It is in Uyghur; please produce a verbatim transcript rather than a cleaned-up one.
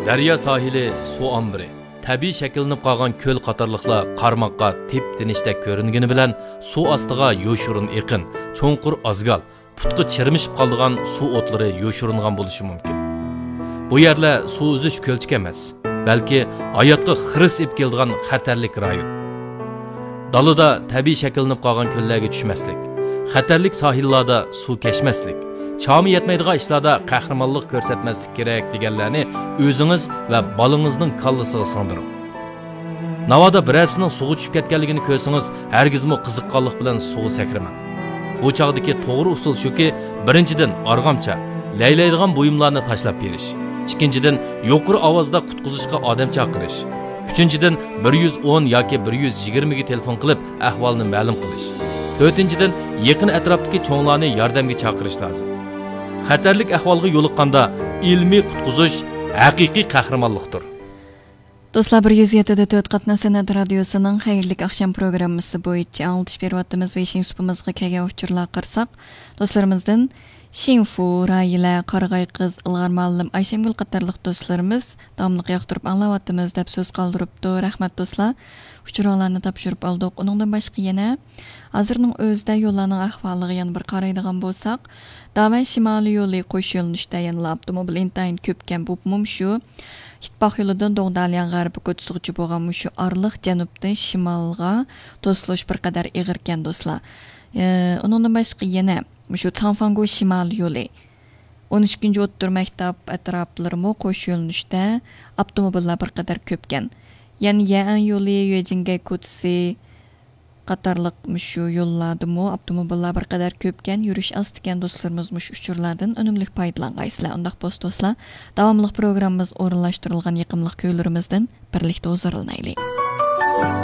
دەريا ساھىلى، سۇ ئامبىرى، تەبىئىي شەكىللىنىپ قالغان كۆل قاتارلىقلار قارىماققا تىپ-تىنچتەك كۆرۈنگىنى بىلەن، سۇ ئاستىغا يوشۇرۇن ئېقىن، چوڭقۇر ئازگال، پۇتقا چىرمىشىپ قالىدىغان سۇ ئوتلىرى يوشۇرۇنغان بولۇشى مۇمكىن. بۇ يەرلەر سۇ ئۈزۈش كۆلچىكى ئەمەس، بەلكى ھاياتقا خىرىس ئېلىپ كېلىدىغان خەتەرلىك رايون. دالىدا تەبىئىي شەكىللىنىپ قالغان كۆللەرگە چۈشمەسلىك، خەتەرلىك ساھىللاردا سۇ كەچمەسلىك، چامى يەتمەيدىغان ئىشلاردا قەھرىمانلىق كۆرسەتمەسلىك كېرەك دېگەنلەرنى ئۆزىڭىز ۋە بالىڭىزنىڭ كاللىسىغا سىڭدۈرۈڭ. ناۋادا بىرەرسىنىڭ سۇغا چۈشۈپ كەتكەنلىكىنى كۆرسىڭىز، ھەرگىزمۇ قىزىققانلىق بىلەن سۇغا سەكرىمەڭ. بۇ چاغدىكى توغرا ئۇسۇل شۇكى، بىرىنچىدىن، ئارغامچا، لەيلەيدىغان بۇيۇملارنى تاشلاپ بېرىش. ئىككىنچىدىن، يۇقىرى ئاۋازدا قۇتقۇزۇشقا ئادەم چاقىرىش. ئۈچىنچىدىن، بىر يۈز ئون ياكى بىر يۈز يىگىرمىگە تېلېفون قىلىپ، ئەھۋالنى مەلۇم قىلىش. تۆتىنچىدىن، يېقىن ئەتراپتىكى چوڭلارنى ياردەمگە چاقىرىش لازىم. خەتەرلىك ئەھۋالغا يولۇققاندا، ئىلمىي قۇتقۇزۇش ھەقىقىي قەھرىمانلىقتۇر. دوستلار، بىر يۈز يەتتە دە تۆت قاتناش سەنئەت رادىيوسىنىڭ خەيرلىك ئاخشام پروگراممىسى بويىچە ئاڭلىتىش بېرىۋاتىمىز. بېشىنچى سۇپىمىزغا كەلگەن ئۇچۇرلارغا قارىساق، دوستلىرىمىزدىن شىنفۇ، رايىلە، قارىغاي قىز، ئىلغار مۇئەللىم، ئايشەمگۈل قاتارلىق دوستلىرىمىز داۋاملىق ياقتۇرۇپ ئاڭلاۋاتىمىز دەپ سۆز قالدۇرۇپتۇ. رەھمەت دوستلار. ئۇچۇرۇڭلارنى تاپشۇرۇپ ئالدۇق. ئۇنىڭدىن باشقا يەنە ھازىرنىڭ ئۆزىدە يوللارنىڭ ئەھۋالىغا يەنە بىر قارايدىغان بولساق، داۋەن شىمالىي يولى قوش يۆنىلىشتە يەنىلا ئاپتوموبىل ئىنتايىن كۆپكەن، بۇ مۇم شۇ ئىتتىپاق يولىدىن دوڭدالياڭ غەربىي كوچىسىغىچە بولغان مۇشۇ ئارىلىق جەنۇبتىن شىمالغا توسۇلۇش بىر قەدەر ئېغىركەن، دوستلار. ئى، ئۇنىڭدىن باشقا يەنە مۇشۇ تاڭفاڭگو شىمالىي يولى، ئون ئىككىنچى ئوتتۇرا مەكتەپ ئەتراپلىرىمۇ قوش يۆنىلىشتە ئاپتوموبىللار بىر قەدەر كۆپكەن. يەنە يەئەن يولى، يۆجىنگەي كوچىسى قاتارلىق مۇشۇ يوللاردىمۇ ئاپتوموبىللار بىر قەدەر كۆپكەن، يۈرۈش ئاستىكەن. دوستلىرىمىز مۇشۇ ئۇچۇرلاردىن ئۈنۈملۈك پايدىلانغايسىلەر. ئۇنداق بولسا دوستلار، داۋاملىق پروگراممىمىز ئورۇنلاشتۇرۇلغان يېقىملىق كۈيلىرىمىزدىن بىرلىكتە ھۇزۇرلىنايلى.